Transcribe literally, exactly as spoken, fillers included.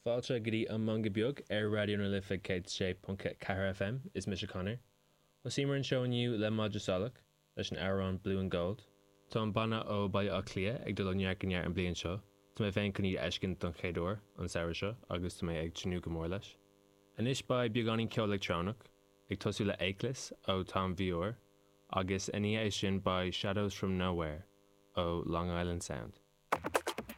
Fáilte go dtí an Meangadh Beag ar Raidió na Life céad sé ponc ceathair FM is mise Conor. Thosaíomar an seó inniu le Madra Salach leis an amhrán Blue and Gold. Tá an banna ó Baile Átha Cliath ag dul ó neart go neart an bliain seo, Tá mé féin chun iad a fheiscint don chéad uair an samhradh seo agus tá mé ag tnúth go mór leis. Anois beidh beagáinín ceol leictreonach ag tosú le Akeless ó Tom Vior agus ina dhiaidh sin beidh Shadows from Nowhere ó Long Island Sound.